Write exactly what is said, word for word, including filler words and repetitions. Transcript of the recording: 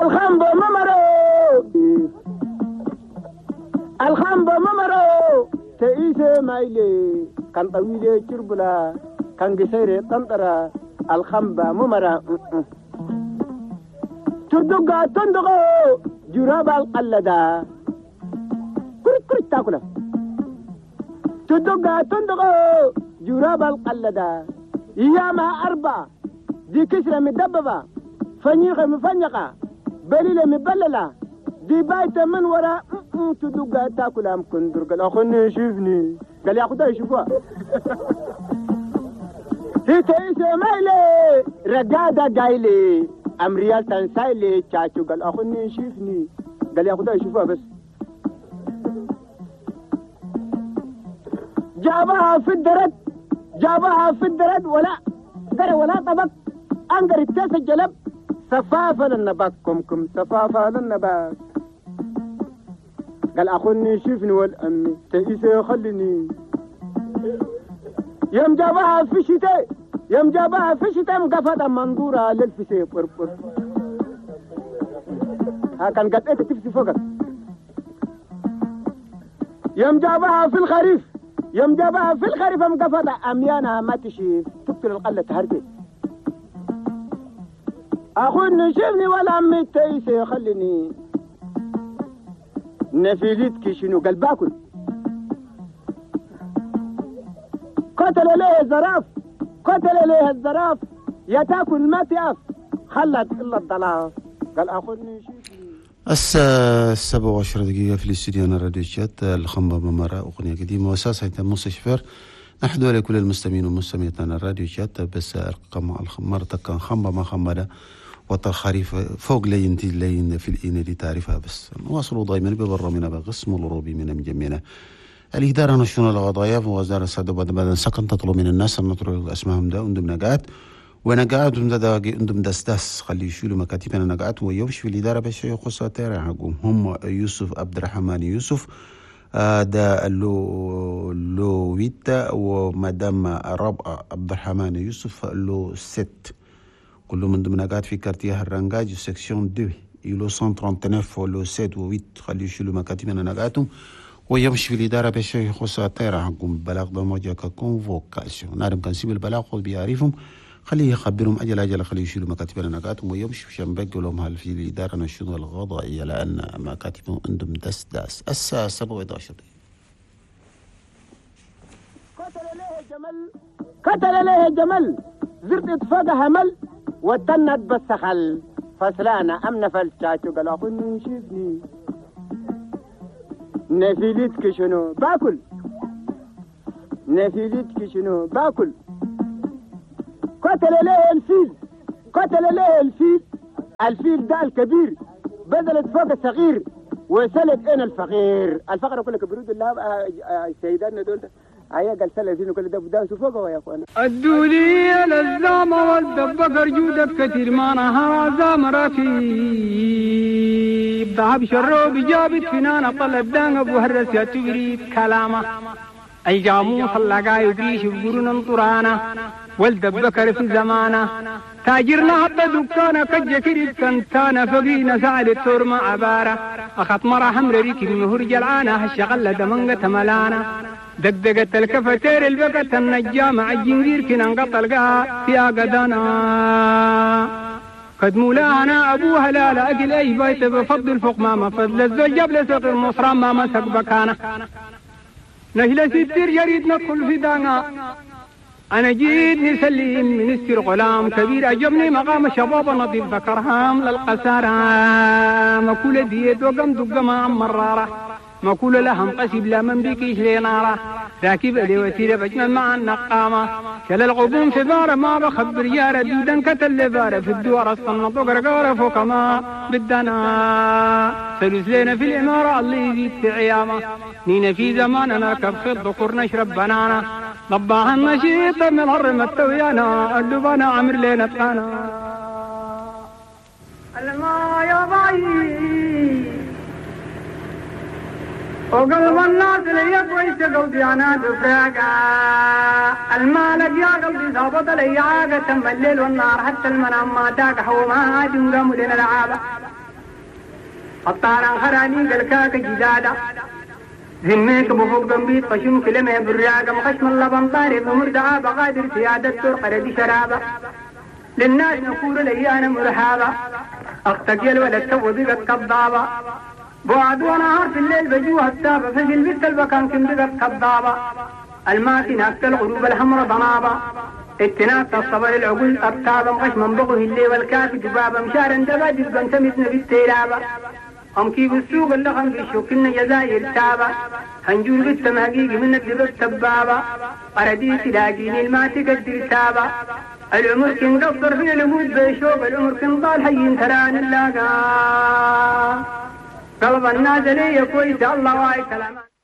الخنبة ممرو الخنبة ممرو تئيسة مايلي كان طويلة كربلا كان قصيرة طنطرة الخنبة ممرة تردقة تندقو جراب القلدة كرت كرت تاكله تدقة تندقو جراب القلدة ياما أربعة دي كسرة مدببة فنيخة مفنيقة بليلة مبللة دي بايتة من وراء تدقة تاكلها مكندر. قال أخوني شوفني. قال يا خداي شوفها. تيسي مايلي رقادة قايلي أمريال تنسايلي تشاتشو. قال أخوني شوفني. قال يا خداي شوفها بس. جابها في الدرد جابها في الدرد ولا قري ولا طبق أنقر التاس الجلب سفافة للنباك كم كم سفافة للنباك. قال أخوني شوفني والأمي تئيسي خليني. يوم جابها في الشتاء يوم جابها في الشتاء مقفة منظورة للفسي بربر. ها كان قد إيه تفسي فوقك. يوم جابها في الخريف يوم جابها في الخريف مقفة أميانها ما تشيف تقتل القلة تهرتي. أخوني شوفني ولا أمي تئيسي خليني. نفيلتك شنو؟ قال باكل. قتل ليه الزراف قتل ليه الزراف يا تاكل ما تقف خلت الا الضلاف. قال اخذني شوفني. الساعة سبعة وعشر دقيقة في الاستوديو راديو تشاد الخنبة ممرة أغنية قديمة وأساسها موسى شفير. نحدو لكل المستمعين والمستمعات الراديو تشاد بس الخمرة كان خنبة ما خنبة وطر خريف فوق لين لين في الإنة دي تعرفها بس نواصلوا دائما ببرامنا بقسم الروبي من مجمعنا الإدارة نشون القضايا ووزارة السعادة بعد بعد سكن تطلب من الناس أن نطلب أسمائهم ده عندهم نجات ونجات عندهم ده عندهم دس دس خلي يشيلوا مكاتبنا نجات ويمشي في الإدارة بس يخص ترى حقهم هم يوسف عبد الرحمن يوسف ده لو لو ويتا ومدام ربع عبد الرحمن يوسف لو ست كل من ضمن قاعد في quartier الرنجاج section اثنين lot مية وتسعة وثلاثين و lot سبعة و ثمانية خلي يشيلوا مكاتبنا نجاتهم ويمشي في الإدارة باش يخص الطيرة حقهم بلاغ ضمجة ك convocation نعرف كان سيب البلاغ خذ بيعرفهم خليه يخبرهم أجل أجل خليه يشيلوا مكاتبنا نجاتهم ويمشي عشان بقوا لهم هل في الإدارة نشيدوا الغضائية لأن مكاتبهم عندهم دس داس. الساعة سبعة وعشرين. قتل ليه جمل قتل ليه جمل زرت اتفاق همل وتند بالسخل فسلانا أم نفل شاتو. قال أخوني شوفني نفيلتك شنو باكل نفيلتك شنو باكل. قتل ليه الفيل قتل ليه الفيل الفيل ده الكبير بذلت فوق الصغير وسلت انا الفقير. الفقر كله كبرود الله سيدنا دول هيا قال سلسين كل ده بدا فوق يا اخوانا. الدولية للزامة والدبقر جودك كثير ما نهار زام ركيب ذهب شروب جابت فنانة طلب دان ابو هرس يا تبريد كلامه اي جاموس اللقا يدريش بقرون طرانا والدبكر في زمانه تاجرنا حتى دكانه كجكري كنتانا فقينا سعد التور مع عبارة أخط مرة حمر ريكي مهور جلعانة هالشغلة دمنقة ملانة دقدقت الكفتير البقت النجامة الجنجير كنا انقطع فيها قدانا قد مولانا أبوها لا لا أكل أي بيت بفضل فوق ما فضل الزوج جاب لسوق المصران ما مسك بكانة نهلة ستير جريد ندخل في دانا أنا جيت نسلم من السر غلام كبير أجبني مقام شباب نظيف ذكرهام للقسارة مكولة ديت وقم دق ما مرارة مكولة لهم قسب لا من بكيش لنارة راكب لي وسيلة بجمل مع النقامة كل الغبون في بارة ما بخبر يارة دودا كتل بارة في الدوار الصنط وقرقارة فوق ما بدنا سلوس لنا في الإمارة اللي يزيد في عيامة نينا في زمان نركب خط ذكر نشرب بنانا ضباها النشيط من هرم التويانا اللبانا عمر لنا تقانا الما يا ضعيف وقلب الناس لي كويس قلبي انا دفاقة المالك يا قلبي ظابط لي عاقة تم الليل والنهار حتى المنام ما تاقح وما عاد قاموا لنا العابة الطاران خراني قلكاك جدادة ذميك بفوق قنبيت قشم كلمة براقة مخشم اللبن طارب ومردعة بقادر سيادة ترقر دي شرابة للناس نقول لي أنا مرحابة أختك يا الولد تو بقت كضابة بعد ونهار في الليل بجوها التابة ففي البت البكان كم بقت كضابة الماكنة الغروب الحمر ضنابة اتناك الصبر العقول أبتابة مخشم بغه الليل والكافي دبابة مشارا دبا دبا تمتنا بالتيرابة أم كيف السوق اللخم في الشوك إن جزائر تابة هنجور بالتمهقيق من الدب التبابة أردي تلاقيني الما تقدر تابة العمر كن قصر في الموت بيشوب العمر كن ضال حي تران اللاقا قلب الناس لي كويس الله واي كلام.